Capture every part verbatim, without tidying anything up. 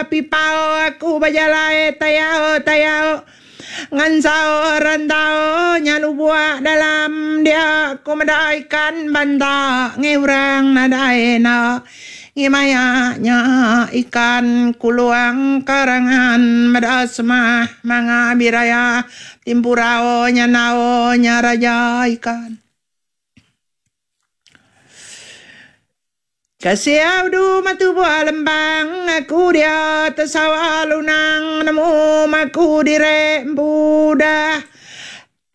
pipau aku bejalai tayau tayau ngansau rantau nyalu buak dalam dia aku meda ikan banda ngi orang nadai enda ngimaya nya ikan kuluang karangan meda semah manga biraya timpurau nyanau nya raja ikan. Kasih udu matubuh lembang aku dia tersawa lunang nemu maku dire empudah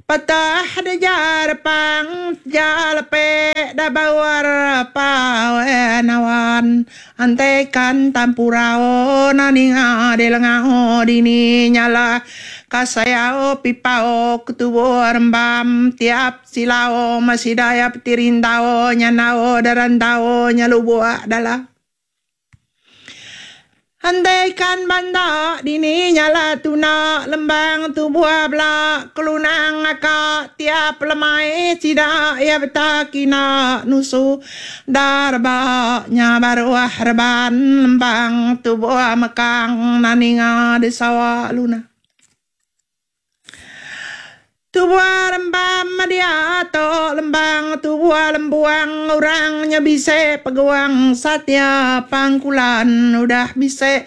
patah dejar pang jalepe da bawar pawen awan antekan tampurao naninga de lengao dini nyala kasayao pipao ketubuh rembam tiap silao masih daya petirindao nyanao darandao nyalubuak dalam andaikan banda dini nyala tuna lembang tubuh belak kelunang akak tiap lemai sida ya betakina nusu darba nya baruah reban lembang tubuh mekang naninga di sawah luna. Tubuh rembam dia to lembang tubuh lembuang orangnya bisa peguang satya pangkulan udah bisa